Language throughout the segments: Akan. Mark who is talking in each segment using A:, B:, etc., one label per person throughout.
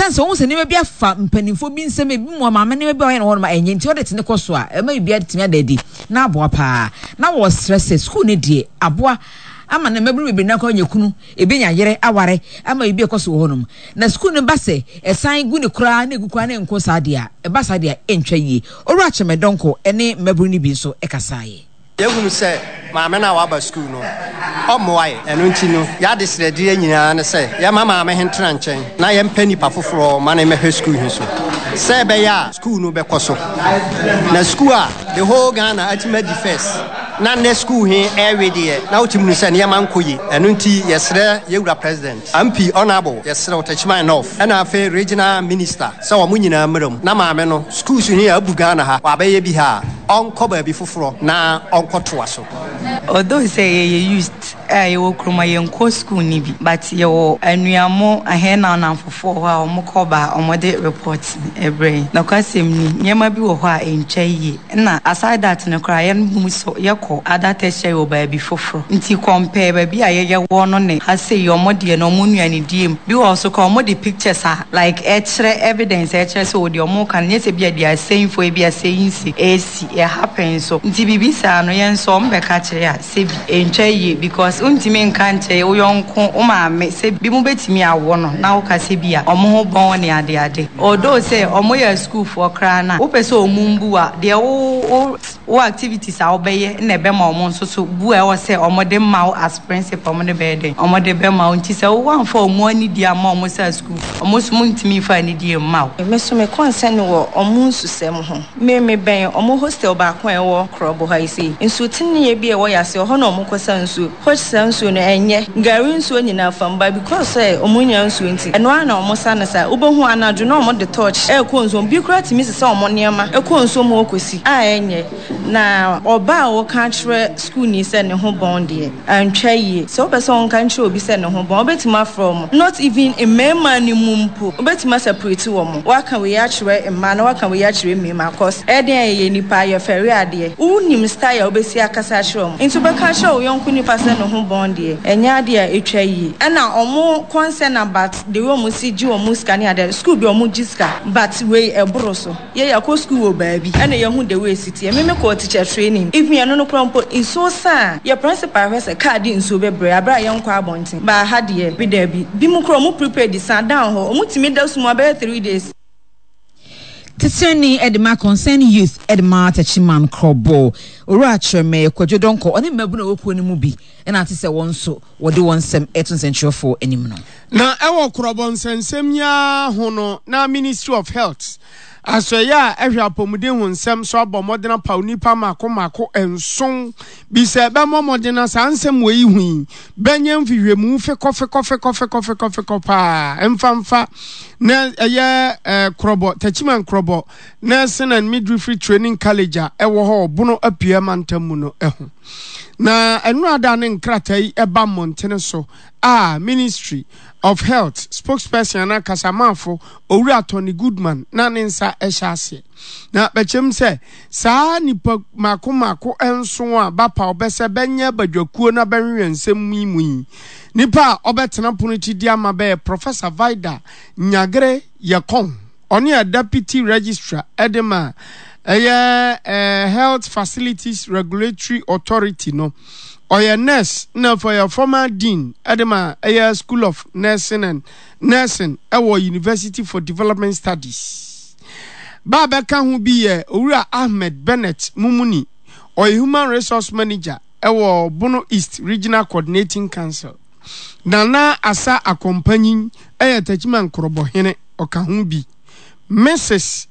A: Sɛn sɛ wɔn sɛ nneɛma bi afa mpanimfoɔ bi nsɛm ebi mu maame nneɛma bi a wɔyɛ no hɔ nom a ɛnyɛ nti ɔde tene kɔ so a ɛma biribi atumi ada adi na aboa paa. Na wɔsrɛ sɛ sukuu no deɛ aboa ama na mmabunu bebree no akɔ anya kunu, ebi anya yere aware ama biribi ɛkɔ so wɔ hɔnom. Na sukuu no ba sɛ ɛsan gu ne koraa na egu koraa na ɛnkɔ saa deɛ a, ɛba saa deɛ a ɛntwa yie. Owura Kyɛmɛ Donkor ne mmabunu no bi nso kasaeɛ.
B: Yɛahunu sɛ maame no a waba sukuu no, ɔmmoa yɛn. Ɛno nti no, yɛn adesrɛdeɛ nyinaa ne sɛ yɛmma maame he ntena nkyɛn na yɛmpɛ nipa foforɔ ma no mmɛhwɛ sukuu he so sɛ ɛbɛyɛ a sukuu no bɛkɔ so. Na sukuu a the whole Ghana atumi adi first na nnɛ sukuu he ɛrewe deɛ, na wotumi hu sɛ nneɛma nkɔ yie. Ɛno nti yɛsrɛ yɛn wura President, MP, Honourable, yɛsrɛ wo, Techiman North, ɛna afei Regional Minister sɛ wɔn nyinaa mmra mu na maame no schools he abu Ghana ha, wabɛyɛ bi ha a, ɔnkɔ baabi foforɔ na ɔnkɔtoa so.
C: Although sɛ yɛyɛ youth a yɛwɔ kurom a yɛnkɔ school no bi but yɛwɔ anuamo ahɛn na anamfofoɔ wɔ hɔ a wɔn kɔ ba a wɔn de report no brɛ yɛn. Nokwasɛm ni nneɛma bi wɔ hɔ a ɛntwa yie ɛna aside that no koraa yɛn mu so yɛkɔ other tertiary wɔ baabi foforɔ nti compare baabi a yɛyɛ wɔ no ne ha sei wɔn deɛ no wɔn nnuane die mu bi wɔ hɔ so koraa wɔn de pictures a like ɛkyerɛ evidence a ɛkyerɛ sɛ o deɛ wɔn reka no nyɛ sɛ bi a they are saying for ebi a saying sake ɛresi ɛ happen nso nti biribi saa no yɛn nso wɔn bɛka kyerɛ a sɛbi ɛntwa yie because wontumi nka nkyerɛ wo yɔnko wo maame sɛ bi mo bɛtumi awo no na woka sɛ bi a wɔn ho bɔn ne ade ade although sɛ wɔn yɛ asukuufoɔ koraa no a wopɛ sɛ wɔn mbu wo a deɛ wo wo wo activities a wobɛyɛ na ɛbɛma wɔn nso so bu a ɛwɔ sɛ wɔn de ma wo as principal wɔn de bɛyɛ dɛn wɔn de bɛma wo nti sɛ wo amfa wɔn anidie amma wɔn sɛ asukuufoɔ wɔn nso wɔntumi mfa anidie mma wo.
D: Me nso me concern wɔ wɔn nsusɛm ho. Me me bɛn ɔmo hostel baako a ɛwɔ Krɔbo ha yi sei. Nsu teneɛ bi a ɛwɔ yase ɛhɔ na ɔmo kɔ sa nsuo. Which saa nsuo no ɛnyɛ gari nsuo nyinaa fam but because sɛ ɔmo nnya nsuo nti ɛno ara na ɔmo sa no saa. Wobɛhu anadwo na ɔmo de torch ɛɛkɔ nsuo mu. Bi koraa tumi sesa ɔmo nneɛma kɔ nsuo mu hɔ kɔsi a ɛnyɛ. Na ɔbaa a ɔka akyerɛ sukuuni sɛ ne ho bɔn deɛ, antwa yie. Sɛ wopɛ sɛ wonka nkyerɛ obi sɛ ne ho bɔn a, wobɛtumi afrɛ wɔn. Not even mmarima no mu mpo, wobɛtumi asɛpreti wɔn. Woaka wei akyerɛ mmaa na woaka wei akyerɛ mmarima cos ɛyɛ den a yɛyɛ nnipa, yɛfɛre adeɛ. Wonnim style a wobɛsi akasa akyerɛ wɔn. Nti wobɛka akyerɛ wo yɔnko nipa sɛ ne ho bɔn deɛ, ɛnyɛ adeɛ a ɛtwa yie. Ɛna wɔn concern about the way wɔsi gye wɔn sika ne adeɛ, school bi wɔgye sika but wei ɛboro so. Yɛ yɛakɔ school wɔ baabi ɛna yɛahu the way ɛsi teɛ. Me me kɔɔ teacher training even ɛno no koraa mpo nsuo sa a yɛ principal hwɛ sɛ car de nsuo bɛbrɛ aberɛ a yɛnkɔ abɔnten but ha deɛ bi daabi bi mu koraa ɔmo prepare di sa down hɔ ɔmo tumi da sum abɛyɛ 3 days.
A: Titenani de ma Concerned Youth de ma Techiman Krɔbɔ, Owura Kyerɛmɛ Kwadwo Donkor, ɔne mmabunu a ɛwɔ kuo no mu bi na ate sɛ wɔn nso wɔde wɔn nsɛm reto nsɛntwerɛfoɔ anim no.
E: Na ɛwɔ korɔbɔ nsɛnsɛm yi ara ho no, na Ministry of Health, asoɛeɛ a ɛhwɛ apɔmuden ho nsɛm so abɔ mmɔden apaw nnipa mmaako mmaako nson bi sɛ bɛmmɔ mmɔden na saa nsɛm wei ho yi bɛnyɛ mfehwɛmu fekɔfekɔfekɔfekɔfekɔfekɔ paa mfa mfa na ɛyɛ eh, korɔbɔ Techiman korɔbɔ Nursing and Midwifery Training College a ɛwɔ hɔ wɔ Bono Apueɛ mantam mu no ho. Na ɛno ne nkrataa yi ɛba mmɔntene so a Ministry of Health spokesperson anaa kasamafo Owura Tony Goodman na ne nsa hyɛ aseɛ. Na bɛkyɛm sɛ saa nipa mako mako nson a bapaw bɛsɛ bɛnyɛ badwakuo na bɛhwehwɛ nsɛm yi mu yi, nipa a ɔbɛtena pono akyi di ama bɛyɛ Professor Vida Nyagre Yɛkɔn. Ɔne a Deputy Registrar de ma ɛyɛ Health Facilities Regulatory Authority no. Ɔyɛ nurse na afei ɔyɛ former dean de ma ɛyɛ School of Nursing and Nursing ɛwɔ University for Development Studies. Ba a bɛka ho bi yɛ Owura Ahmed Bennett Mumuni. Ɔyɛ Human Resource Manager ɛwɔ Bono East Regional Coordinating Council. Nana Asa Akɔmpanyin yɛ Techiman Nkorɔbɔhene, ɔka ho bi. Mrs.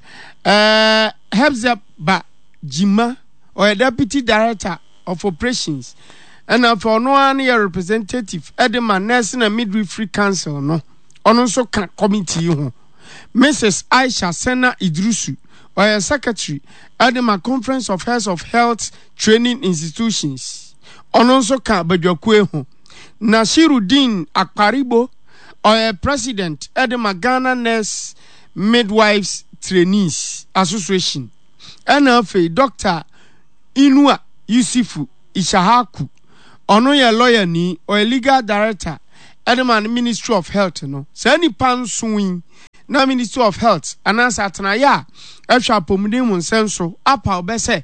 E: Eh, Hepzibah Gyimah, ɔyɛ Deputy Director of Operations, ɛna afei ɔno ara no yɛ representative de ma Nursing and Midwifery Council no, ɔno nso ka committee yi ho. Mrs. Aisha Sena Idrusu, ɔyɛ Secretary de ma Conference of Heads of Health Training Institutions, ɔno nso ka badwakuo ho. Nasiruddin Akparibo, ɔyɛ President de ma Ghana Nurse Midwives Trainees Association. Ɛna afei Dɔkta Inua Yusifu Ishahaku, ɔno yɛ lɔyani, ɔyɛ Legal Director de ma Ministry of Health no. Saa nnipa nson yi Na Ministry of Health anaasɛ atenaeɛ a ɛhwɛ apɔmuden mu nsɛm so apaw bɛ sɛ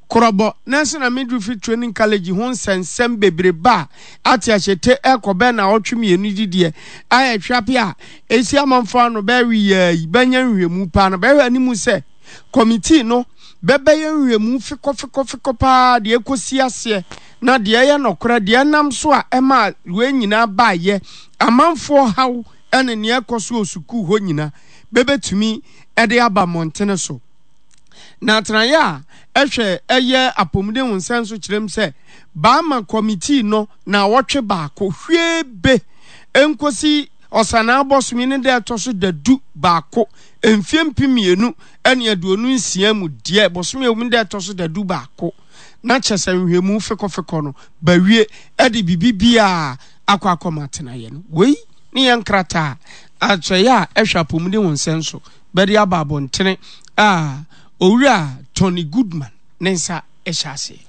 E: Korɔbɔ Nursing and Midwifery Training College ho nsɛnsɛm bebrebe a ate ahyete rekɔ bɛyɛ naawɔtwe mmienu didiɛ a ɛhwɛ a ɛsi amanfoɔ ano bɛyɛ weyaa yi bɛnya nhwehwɛmu paa na bɛhwɛ anim sɛ kɔmitii no bɛbɛyɛ nhwehwɛmu fekɔfekɔfekɔ paa deɛ ɛkɔsi aseɛ na deɛ ɛyɛ nɔkorɛ deɛ ɛnam so a ɛmaa wei nyinaa baeɛ amanfoɔ haw ne nea ɛkɔ so wɔ sukuu hɔ nyina bɛbɛtumi de aba mmɔntene so. Na atenaeɛ a ɛhwɛ ɛyɛ apɔmuden ho nsɛm so kyerɛm sɛ baama kɔmitii no naawɔtwe baako hwie be nkosi Ɔsanaa bɔsome ne da ɛtɔ so dadu baako mfie 2026 mu deɛ bosome a ɛwɔ mu da ɛtɔ so dadu baako na kyɛ sɛ nhwɛmu fekɔfekɔ no bawie de biribi biara akɔ akɔma atenaeɛ no. Wei ne yɛn nkrataa a akyerɛeɛ a ɛhwɛ apɔmuden ho nsɛm so bɛde aba abɔntene a Owura Tony Goodman ne nsa hyɛ aseɛ.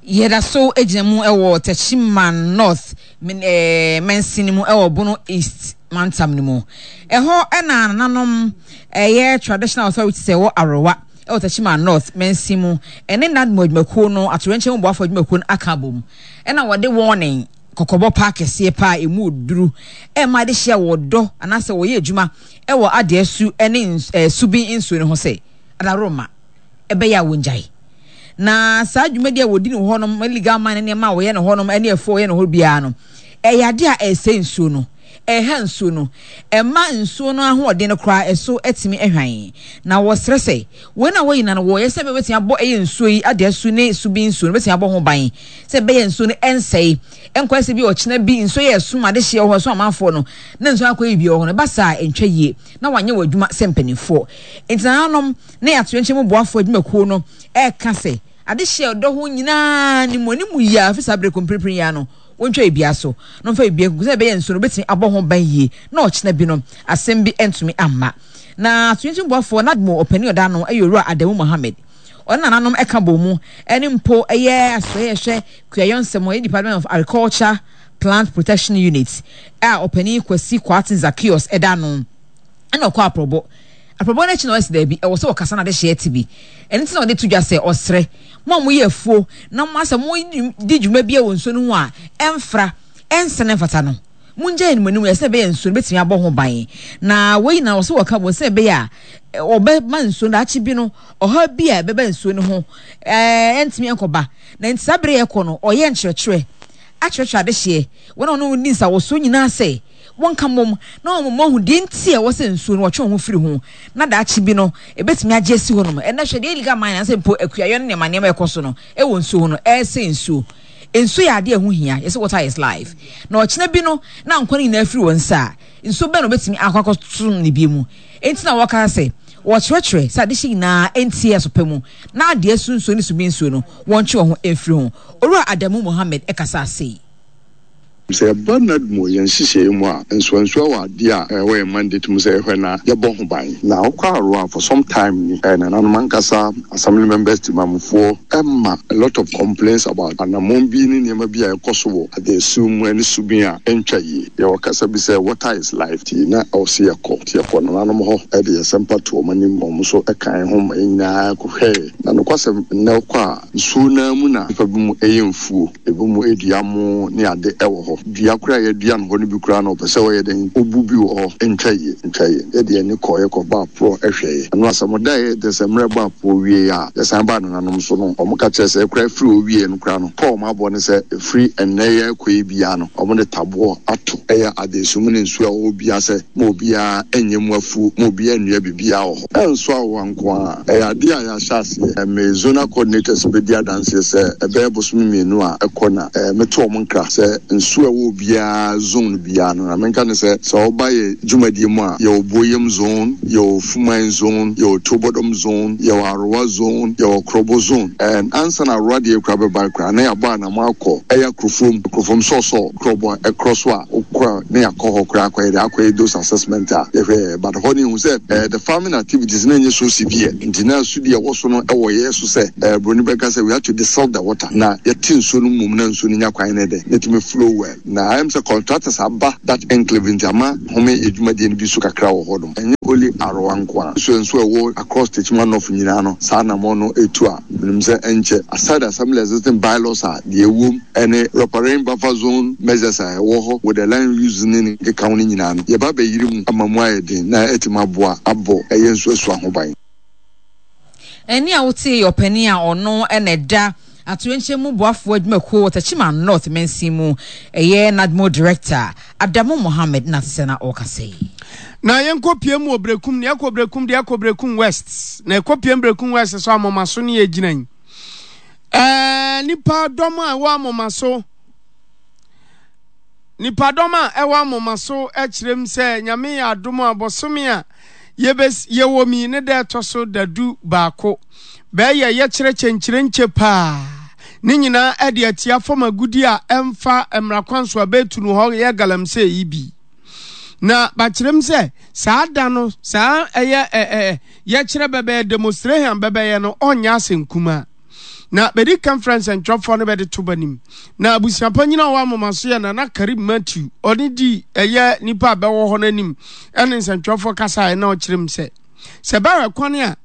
A: Yɛda so gyina mu wɔ Techiman North mansini mu wɔ Bono East mantam no mu. Ɛhɔ na nananom ɛyɛ traditional authorities ɛwɔ Arowa wɔ Techiman North mansin mu ɛne NADMO adwumakuo no atoyerɛnkyɛm mu boafoɔ adwumakuo no aka abom ɛna wɔde warning kɔkɔbɔ paa kɛseɛ paa ɛmu duru ɛma de hyɛ wɔ dɔ anaasɛ wɔyɛ adwuma ɛwɔ adeɛ su ɛne subin nsuo no ho sɛ adaworoma ɛbɛyɛ a wɔngyae. Na saa dwumadi a wɔdi no hɔ nom, illegal mine ne nneɛma a wɔyɛ no hɔ nom ne afuo a wɔyɛ no hɔ biara no, ɛyɛ adeɛ a ɛresɛe nsuo no, ɛreha nsuo no, ɛma nsuo no ahoɔden no koraa ɛso atumi ahwan. Na wɔsrɛ sɛ, wei na wɔyi na no wɔyɛ sɛ bɛbɛtumi abɔ ɛyɛ nsuo yi adeɛ su ne subi nsuo no bɛtumi abɔ ho ban sɛ ɛbɛyɛ nsuo no ɛnsɛe ɛnkɔyɛ sɛ bi ɔkyena bi nsuo yɛ ɛsom adehyeɛ wɔ hɔ ɛsom amanfoɔ no na nsuo akɔyɛ bi wɔ hɔ no ɛba saa ɛntwa yie na wɔanyɛ wɔn adwuma sɛ mpanimfoɔ. Enti nananom ne atoyerɛnkyɛm mu boafo adwumakuo no reka sɛ, adehyeɛ a ɔdɔ ho nyinaa ne mu anim yie ara firi saa berɛ kɔ mprempren yi ara no, wɔntwa biribiara so na wɔmfa biribiara nkugu sɛdeɛ ɛbɛyɛ nsuo no wɔbɛtumi abɔ ho ban yie na ɔkyena bi no asɛm bi ntumi amma. Na atoyerɛnkyɛm mu boafoɔ NADMO ɔpanin a ɔda ano yɛ Owura Adamu Mohammed. Ɔne nananom ka bɔɔ mu ne mpo yɛ asoɛeɛ hwɛ kuayɔ nsɛm ho, ɛyɛ Department of Agriculture Plant Protection Unit a ɔpanin Kwasi Kwarteng Zaccheaus da ano. Ɛna ɔkɔ aprɔbɔ. Aprɔbɔ no akyi na ɔse daabi, ɛwɔ sɛ ɔkasa na adehyeɛ te bi. Ɛno nti na ɔde to dwa sɛ ɔsrɛ mo a moyɛ afuo na mo asɛ modi dwuma biara wɔ nsuo no ho a ɛmfra, ɛnsɛ na ɛmfata no, mongyae no mo anim yɛ sɛ ɛbɛyɛ nsuo no bɛtumi abɔ ho ban. Na wei nyinaa ɔse wɔka bom sɛ ɛbɛyɛ a wɔbɛma nsuo no daakye bi no ɔhaw bi a ɛbɛba nsuo no ho ɛntumi ɛnkɔba. Na nti saa bere yɛkɔ no ɔyɛ nkyerɛkyerɛ akyerɛkyerɛ adehyeɛ wɔn a wɔne wɔn di nsawɔsoɔ nyinaa sɛ wɔnka mmom na wɔma wɔahu deɛ nti a ɛwɔ sɛ nsuo no wɔtwe wɔn ho firi ho na daakye bi no ɛbɛtumi agye asi hɔnom. Ɛnnɛ hwɛ deɛ illegal mining anaasɛ mpo akuayɔ ne nneɛma nneɛma ɛkɔ so no ɛwɔ nsuo ho no ɛresɛe nsuo. Nsuo yɛ adeɛ a ɛho hia, yɛsɛ water is life. Na ɔkyena bi no na nkwa no nyinaa firi wɔn nsa a, nsuo bɛn na wɔbɛtumi akɔ akɔsom no bio mu? Enti na wɔka sɛ wɔkyerɛkyerɛ sɛ adehye nyinaa ntie aso pa mu na adeɛ so nsuo ne subi nsuo no wɔntwe wɔn ho mfiri ho. Owura Adamu Mohammed kasaa sei.
F: Sɛ yɛba NADMO yɛn nhyehyɛeɛ mu a, nsuansuwa wɔ adeɛ a ɛwɔ yɛn mandate mu sɛ yɛhwɛ na yɛbɔ ho ban. Na wokɔ Aroa for some time ni, nananom ankasa, assembly members, temamufoɔ ma a lot of complaints about anammɔn bi ne nneɛma bi a ɛkɔ so wɔ adaesuo mu ne subin a ɛntwa yie. Yɛwɔ kasa bi sɛ water is life nti na ɛwɔ sɛ yɛkɔ. Nti yɛkɔɔ nananom hɔ de yɛn nsɛmpa too wɔn anim ma wɔn nso kaa yɛn ho ma yɛn nyinaa kɔhwɛeɛ. Na nokwasɛm, nnɛ wokɔ a, nsuo no ara mu na nnipa binom yɛ mfuo. Ebinom dua mo ne ade wɔ hɔ. Dua koraa a yɛadua no hɔ no bi koraa no, wɔpɛ sɛ wɔyɛ dɛn? Wobu bi wɔ hɔ. Ntwa yie, ntwa yie. Yɛde yɛn ani kɔeɛ kɔbɔɔ aporɔ hwɛeɛ. Ɛno asɛm daeɛ kyerɛ sɛ mmerɛ bɔɔ aporɔ wieeɛ a, yɛsan baa nananom so no, wɔka kyerɛɛ sɛ koraa firi hɔ wieeɛ no koraa no, pɔ a wɔabɔ ne sɛ ɛfiri ɛnnɛ yi rekɔ yi biara no, wɔde taboɔ ato ɛyɛ adeeso mu ne nsuo a ɛwɔ hɔ biara sɛ ma obiara nyɛ mu afuo, ma obiara nnua biribiara wɔ hɔ. Ɛnso awowa nko ara. Ɛyɛ adeɛ a yɛahyɛ aseɛ. Me zonal coordinators bɛdi adanseɛ sɛ ɛbɛyɛ bosome mmienu a ɛkɔ na meto wɔn nkra sɛ nsuo a ɛwɔ obiara zone biara no, na menka ne sɛ, sɛ woba yɛn dwumadie mu a, yɛwɔ Buoyem zone, yɛwɔ Fuman zone, yɛwɔ Tuobodom zone, yɛwɔ Arowa zone, yɛwɔ Krobo zone. And ansa na Arowa deɛ koraa bɛba koraa na yɛabɔ anamɔ akɔ ɛyɛ Akrofom, Akrofom Sɔɔsɔɔ, Krobo a ɛkorɔ so a wokɔ a na yɛakɔ hɔ koraa akɔyɛ dɛ akɔyɛ those assessment a yɛhwɛ but hɔ no yɛhu sɛ eh, the farming activities na ɛnyɛ so severe nti na asodi a ɛwɔ so no ɛwɔ yɛn so sɛ eh, broni bɛka sɛ we have to desilt the water na yɛte nsuo no mmom na nsuo no nya kwan ne dɛ na ɛtumi flow well. agyae. Na ayɛ me sɛ contractors aba that enclave nti ama home yɛ dwumadie no bi so kakra wɔ hɔ nom. Ɛnyɛ only Aroa nko ara. Nsuo nso a ɛwɔ across Techiman North nyinaa no saa anamɔn no ɛtu a menim sɛ ɛnkyɛ aside assembly existing bylaws a deɛ ɛwom ɛne riparian buffer zone measures a ɛwɔ hɔ with the land use ne ne nkekaho no nyinaa no yɛba abɛyere mu ama mu ayɛ den na atumi aboa abɔ ɛyɛ nsuasua ho ban.
A: Ɛnne a wotee yɛ ɔpanin a ɔno na ɛda atoyerɛnkyɛm mu boafoɔ adwumakuo wɔ Techiman North mansin mu, ɛyɛ NADMO Director, Adamu Mohammed na te sɛ na ɔrekasa yi.
E: Na yɛnkɔ pie mu wɔ Berekum, na yɛkɔ Berekum deɛ yɛkɔ Berekum West, na yɛkɔ pie mu Berekum West so Amomaso ne yɛgyina yi. Ɛɛ nipa dɔm a ɛwɔ Amomaso, nipa dɔm a ɛwɔ Amomaso kyerɛ mu sɛ Nyame yɛ adom a bɔsome a yɛbɛs yɛwɔ mi ne da ɛtɔ so dadu baako bɛyɛ yɛkyerɛ kyɛnkyerɛnkyɛ paa ne nyinaa ɛde atia fam agudi a ɛmfa mmara kwan so a bɛtu no hɔ yɛ galamsey yi bi. Na bakyerɛm sɛ saa da no saa ɛyɛ ɛ ɛ yɛkyerɛ bɛbɛyɛ demonstration bɛbɛyɛ no ɔnyɛ asɛnkumaa. Na bɛdi kan frɛ nsɛntwerɛfoɔ no bɛde to b'anim. Na abusuapanyin a ɔwɔ Amomaso yɛ Nana Karim Matthew. Ɔne di ɛyɛ nipa a bɛwɔ hɔ no anim ɛne nsɛntwerɛfoɔ kasaeɛ na ɔkyerɛ mu sɛ, sɛ bɛhwɛ kwan a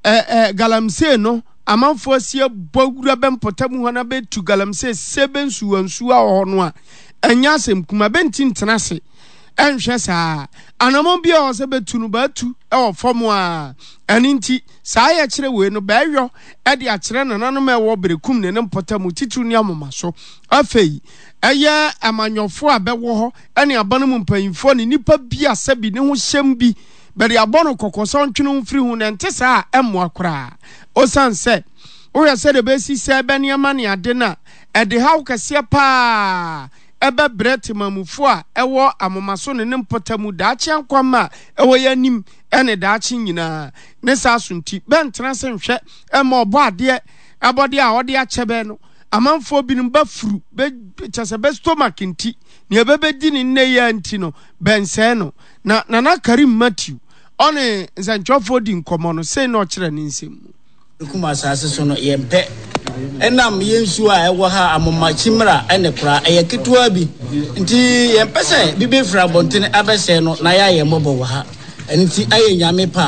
E: ɛ ɛ galamsey no amanfoɔ asi abɔ wura bɛ mpɔtam hɔ na bɛtu galamsey sɛ bɛ nsuwansuwa wɔ hɔ no a, ɛnyɛ asɛm kuma. Bɛnti ntena ase ɛnhwɛ saa. Anamɔn bi a ɔwɔ sɛ bɛtu no bɛatu wɔ fam a. Ɛno nti saa yɛkyerɛ wei no bɛyɔ de akyerɛ nananom a ɛwɔ Berekum ne ne mpɔtam, titiriw ne Amomaso. Afei, ɛyɛ amanyɔfoɔ a bɛwɔ hɔ ne aban mu mpanyimfoɔ ne nnipa bi a sɛbi ne ho hyɛm bi, bɛde abɔ no kɔkɔ sɛ ɔntwe ne ho mfiri ho, na ɛnte saa a, ɛmmoa koraa. Osiane sɛ wohwɛ sɛdeɛ bɛsi sɛe bɛ nneɛma ne ade no a, ɛde haw kɛseɛ pa ara bɛbrɛ temamufoɔ a ɛwɔ Amomaso ne ne mpɔtam, daakye ankwamma a ɛwɔ yɛn anim ne daakye nyinaa. Ne saa so nti, bɛntena ase nhwɛ mma Ɔbɔadeɛ abɔdeɛ a ɔde akyɛ bɛ no. Amanfoɔ binom bɛfuru bɛ, kyerɛ sɛ bɛ stomach nti, nea bɛbɛdi no nnɛ yi ara nti no, bɛnsɛe no. Na Nana Karim Matthew, ɔne nsɛntwerɛfoɔ di nkɔmmɔ no, sei na ɔkyerɛ ne nsɛm mu.
G: Kum asase so no, yɛmpɛ. Ɛnam yɛn nsuo a ɛwɔ ha Amoma Kyimra ne Kora ɛyɛ ketewa bi nti, yɛmpɛ sɛ bi bɛfiri abɔntene abɛsɛe no na yɛayɛ mmɔbɔ wɔ ha. Ɛno nti ayɛ Nyame pɛ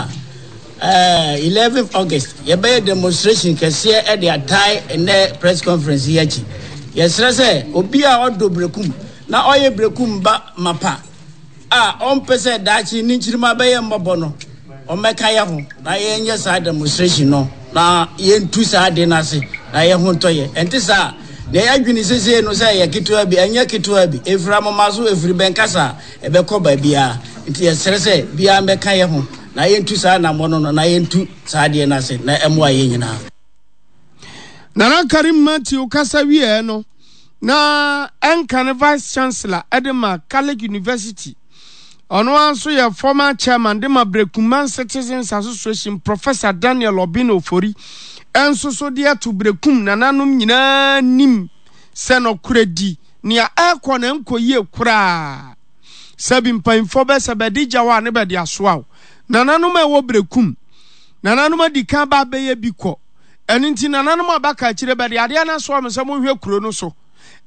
G: a, 11th August yɛbɛyɛ demonstration kɛseɛ de atae nnɛ press conference yi akyi. Yɛsrɛ sɛ obi a ɔdɔ Berekum na ɔyɛ Berekum ba mapa a ɔmpɛ sɛ daakye ne nkyirimma bɛyɛ mmɔbɔ no, ɔmmɛka yɛ ho na yɛnyɛ saa demonstration no na yɛntu saa ade no ase na yɛn ho ntɔ yɛn. Ɛnte saa a, nea yɛadwene seesei no sɛ ɛyɛ ketewa bi, ɛnyɛ ketewa bi. Ɛfiri amoma so, ɛfiri bɛnkasa a, ɛbɛkɔ baabiara. Nti yɛsrɛ sɛ biara mmɛka yɛn ho na yɛntu saa anammɔn no na yɛntu saa adeɛ no ase na ɛmmoa yɛn nyinaa.
E: Nana Karim Matthew kasa wieɛ no, na ɛnka ne Vice Chancellor de ma Catholic University. Ɔno ara nso yɛ former chairman de ma Brekuman Citizens Association Professor Daniel Obin Ofori nso so de ato Berekum nananom nyinaa nim sɛ nɔkorɛdi nea ɛrekɔ no ɛnkɔ yie koraa. Sɛbi mpanyinfoɔ bɛ sɛ bɛde gya wo a ne bɛde asoa wo. Nananom a ɛwɔ Berekum, nananom adi kan ba abɛyɛ bi kɔ. Ɛno nti nananom a bɛaka akyire bɛde adeɛ no asoa mo sɛ monhwɛ kuro no so.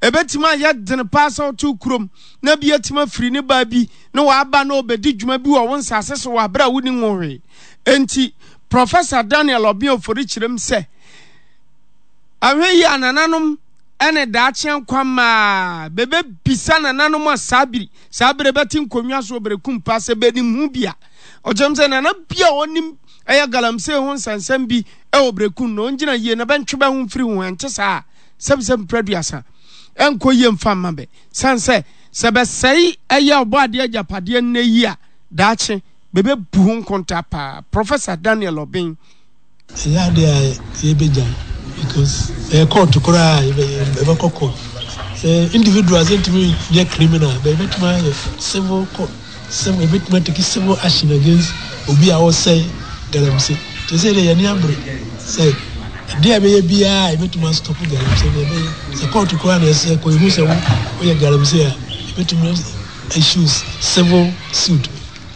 E: Ɛbɛtumi ayɛ dene paa sɛ wote wo kurom na bi atumi afiri ne baa bi na waba na ɔbɛdi dwuma bi wɔ wo nsase so wɔ aberɛ a wonni ho hwee. Enti, Professor Daniel Obeng Ofori kyerɛm sɛ, ahwɛ yie a nananom ne daakye nkwa mmaa bɛbɛbisa nananom a saa biri saa berɛ bɛte nkonnwa so wɔ Berekum paa sɛ bɛnim ho bi a. Ɔkyerɛm sɛ nana bi a ɔnim ɛyɛ galamsey ho nsɛnsɛm bi wɔ Berekum no, ɔngyina yie na bɛntwe bɛ ho mfiri ho, ɛnte saa a, sɛbisɛbi mprɛ aduasa ɛnkɔ yie mfa mma bɛ. Sane sɛ, sɛ bɛsɛe ɛyɛ Ɔbɔadeɛ agyapadeɛ nnɛ yi a, daakye bɛbɛbu ho nkontaa paa. Professor Daniel Obeng.
H: Ɛnyɛ adeɛ a yɛbɛgyae because ɛyɛ court koraa a yɛbɛkɔ court. Sɛ individuals ntumi nyɛ criminal but yɛbɛtumi ayɛ civil court, civil yɛbɛtumi atake civil action against obi a ɔsɛe galamsey. Te sɛ deɛ yɛne abere sɛ adeɛ a ɛbɛyɛ biara a yɛbɛtumi astɔpo galamsey no yɛbɛyɛ. Sɛ court koraa na ɛsɛ kɔ yɛhu sɛ woyɛ galamsey a yɛbɛtumi issue civil suit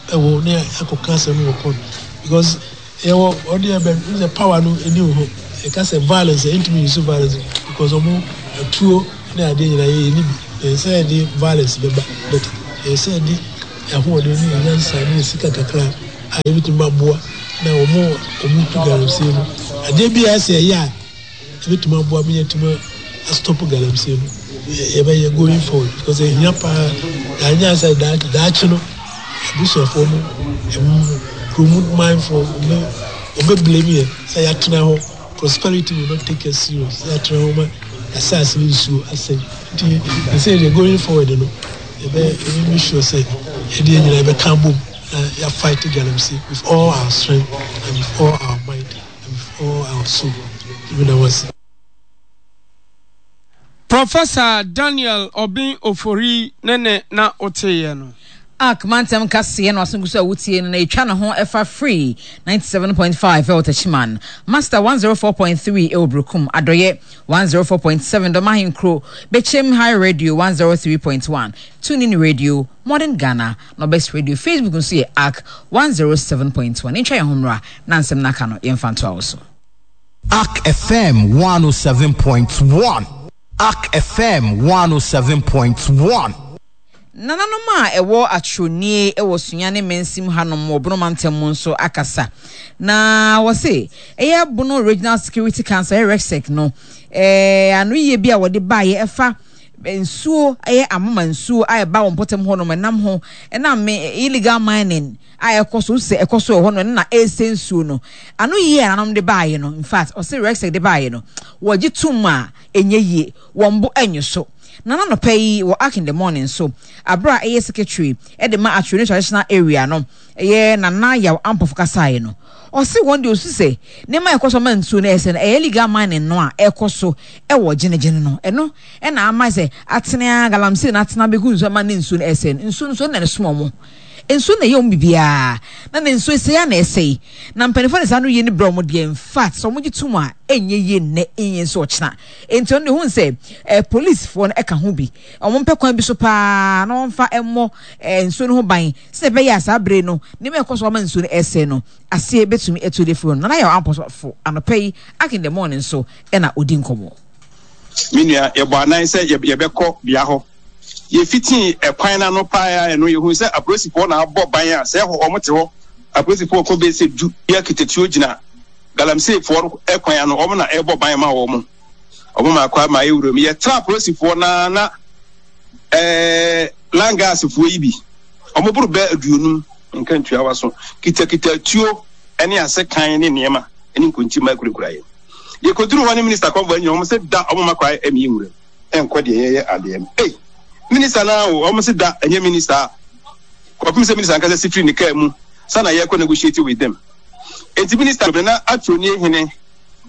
H: ɛwɔ ne akɔka asɛm no wɔ court because Yɛwɔ ɔde ɛbɛ n sɛ power no ɛni wɔ hɔ yɛka sɛ violence a yɛntumi use violence because ɔmo atuo ne adeɛ nyinaa yɛ yɛni bi. Ɛyɛ sɛ yɛde violence bɛba but ɛyɛ sɛ yɛde yɛn ahoɔden ne yɛn nyansa ne yɛn sika kakra a yɛbɛtumi aboa na wɔn a wɔtu galamsey no adeɛ bi a ɛsɛ yɛyɛ a ɛbɛtumi aboa ma yɛatumi astop galamsey no yɛbɛyɛ going forward because ɛhia paa yɛanyɛ sɛ daakye no abusuafoɔ no kurom manfoɔ wɔbɛ blame yɛ sɛ yɛatena hɔ. Prosperity will not take us serious sɛ yɛatra hɔ ma yɛasase ne nsuo asɛe nti ɛsɛ deɛ going forward no yɛbɛ yɛbɛ make sure sɛ yɛde yɛn nyinaa yɛbɛka abom na yɛ fight galamsey with all our strength and with all our might and with all our soul. Meda mo ase.
E: Professor Daniel Obeng Ofori ne ne na woteeɛ no.
A: Ark mantam kaseɛ no aso gu so a wotie no na ɛtwa ne ho ɛfa Free 97.5 ɛwɔ Techiman, Master 104.3 ɛwɔ Brukum, Adɔyɛ 104.7 Dɔm Ahenkuro, Bekyem High Radio 103.1, Tunin Radio, Modern Ghana, Nobes Radio, Facebook nso yɛ Ark 107.1. Ntwa yɛn ho mmra na nsɛm no aka no yɛmfa ntoa wo so.
I: Ark FM 107.1. Ark FM 107.1.
A: Nananom a ɛwɔ Atwronie wɔ Sunyani mansim hanom wɔ Bono mantam mu nso akasa. Na wɔse ɛyɛ Bono Regional Security Council, ɛyɛ REGSEC no, eh, anoyie bi a wɔde baeɛ ɛfa nsuo, ɛyɛ amoma nsuo a ɛba wɔn mpɔtam hɔnom ɛnam ho, ɛnam illegal mining a ɛkɔ so, sɛ ɛkɔ so wɔ hɔ no, ɛno na ɛresɛ nsuo no. Ano yie a nananom de baeɛ no, in fact, ɔse REGSEC de baeɛ no, wɔgye tom a ɛnyɛ yie, wɔn bo ɛnyo so. Na n'anɔpa yi wɔ Ark in the Morning so, aberɛ a ɛyɛ secretary de ma Atwere Traditional Area no, ɛyɛ Nana Yaw Ampofo kasaeɛ no, ɔse wɔn deɛ ɔsu sɛ nneɛma a ɛkɔ so ama nsuo no ɛsɛ no, ɛyɛ illegal mining no a ɛkɔ so wɔ Gyenegyene no, ɛno na ama sɛ atene ara, galamsey no atena abɛgu nsuo ama ne nsuo no ɛsɛ no, nsuo no nso ɛno na ɛsom wɔn. Nsuo na ɛyɛ wɔn biribiara, na ne nsuo sɛe ara na ɛsɛe. Na mpanimfoɔ de saa ano yie no brɛ wɔn deɛ, in fact, sɛ wɔgye tom a, ɛnyɛ yie nnɛ, ɛnyɛ nso ɔkyena. Enti ɔno deɛ ohun sɛ eh, polisifoɔ no ka ho bi. Wɔmpɛ kwan bi so paa na wɔmfa mmɔ eh, nsuo no ho ban sɛdeɛ ɛbɛyɛ a saa bere no nneɛma a ɛkɔ so ama nsuo no ɛsɛe no aseɛ bɛtumi atu de afiri hɔ no. Nana Yaw Ampɔsofo anɔpa yi Ark in the Morning so na ɔdi nkɔmmɔ.
J: Me nua, yɛbɔ anan sɛ yɛbɛkɔ bea hɔ. Yɛfitii ɛkwan no ano paa ara no, yɛhuu sɛ apolisifoɔ na abɔ ban a sɛ ɛhɔ wɔte hɔ. Apolisifoɔ kɔ bɛyɛ sɛ du bi akitatuo gyina galamseyfoɔ no kwan ano, wɔn na ɛrebɔ ban ma wɔn. Wɔn ma akɔ ama ayɛ wuram. Yɛtra apolisifoɔ no ara na ɛɛ langasfoɔ yi bi, wɔn boro bɛɛ 50, nka ntuawa so, kitakita tuo ne asekan ne nneɛma ne nkontimma kurakura yɛn. Yɛkɔduruu hɔ ne minista convoy no nyinaa, wɔn se da wɔn ma kwan ɛmie nwuram ɛnkɔ deɛ yɛyɛ adeɛ no. Ei! Minista no ara o, wɔn se da ɛnyɛ minista a. Kɔpem sɛ minista ankasa si firi ne kaa mu sa na yɛkɔ negotiate with them. Enti minista no na Atwoni hene,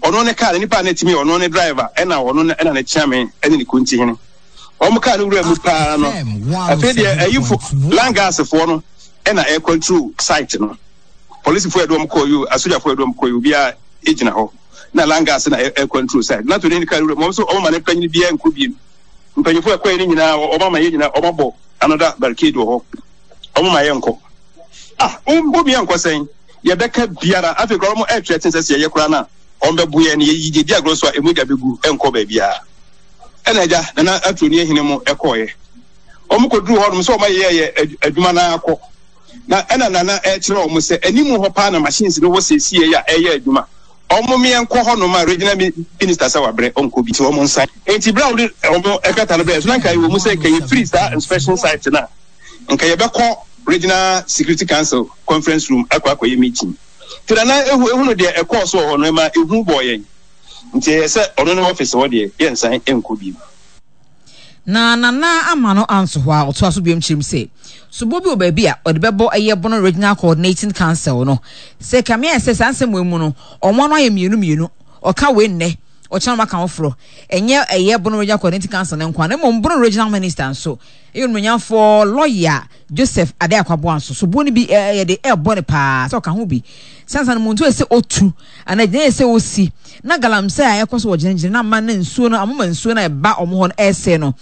J: ɔno ne kaa no, nipa a na ɛtumi yɛ ɔno ne driver ɛna ɔno ɛna ne kyeame ɛne ne konti hene. Wɔn kaa no wura mu paa no, afei deɛ ayifo, langasfoɔ no ɛna ɛcontrol site no. Polisifo a yɛde wɔn kɔɔ yi o, asogyafo a yɛde wɔn kɔɔ yi, obiara gyina hɔ. Na Langas na ɛcontrol side. Na Tony kaa wura mu, wɔn nso wɔn ma ne panyin biara nkɔ biem. Mpanyinfo a ɛkɔɛ no nyinaa, wɔn ama yɛn nyinaa, wɔn abɔ another barricade wɔ hɔ. Wɔn ma yɛn nkɔ. Ah, wɔn yɛn nkɔ sɛn? Yɛbɛka biara. Afei koraa wɔn ɛretrɛten sɛ sɛ yɛyɛ koraa na wɔn bɛbo yɛn. Yɛyi yɛdi agorɔ so a, emu gya bɛgu, ɛnkɔ baabiara. Ɛna agya, Nana Atoni Ahene mo ɛkɔɔyɛ. Wɔn kɔduru hɔnom sɛ wɔn ayɛ yɛ adwuma no ara kɔ. Na ɛna Nana ɛrekyerɛ wɔn sɛ anim hɔ paa na machines no wɔ seesei a ɛreyɛ adwuma. Wɔn meɛ nkɔ hɔ nom a regional minister sɛ wabrɛ ɔnkɔ bi nti wɔn nsan. Nti berɛ a wɔde wɔn krataa no brɛɛ so na nka ɛwɔ mu sɛ nka yɛfiri saa inspection site no a nka yɛbɛkɔ regional security council conference room akɔ akɔyɛ meeting. Nti Nana ehu ehunu deɛ ɛkɔɔ so wɔ hɔ no ɛma ehu bɔɔ yɛn nti ɛyɛ sɛ ɔno ne office hɔ deɛ yɛnsan nkɔ bio.
A: Na Nana amma no anto hɔ ara, ɔtoa so biom kyerɛ mu sɛ, sobo bi wɔ baabi a ɔde bɛbɔ ɛyɛ Bono Regional Coordinating Council no. Sɛ ɛkame ayɛ sɛ saa nsɛm wei mu no, wɔn ano ayɛ mmienu mmienu, ɔka wei nnɛ, ɔkyena na waka foforɔ. Ɛnyɛ ɛyɛ Bono Regional Coordinating Council no nko ara, na mmom Bono Regional Minister nso, ɛyɛ Onimonyamfoɔ Lɔya Joseph Adei Akwaboah nso, soboɔ no bi yɛde ɛrebɔ no paa sɛ ɔka ho bi. Sansa no muntu ɛsɛ otu anaa gyinae ɛsɛ osi na galamsey a ɛkɔ so wɔ gyinagyina na ama na nsuo no amoma nsuo no a ɛba wɔn hɔ no ɛresɛe no.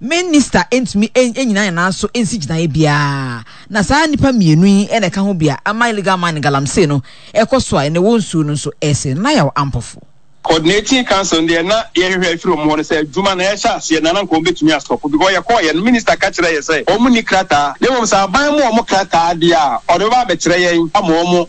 A: Minista ntumi nnyina ne nan so nsi gyinaeɛ biara. Na saa nnipa mmienu yi na ɛka ho bi a ama illegal mining galamsey no ɛkɔ so a ɛnɛ wɔ nsuo no nso ɛresɛe no. Nayaw Ampofo.
J: Coordinating Council no deɛ na yɛhwehwɛ afiri wɔn hɔ no sɛ adwuma no ɛrehyɛ aseɛ no na anka wɔbɛtumi astɔpo because yɛkɔeɛ no minister ka kyerɛɛ yɛ sɛ wɔn nni krataa na mmom sɛ aban ma wɔn krataa deɛ a ɔde bɛba abɛkyerɛ yɛn ama wɔn.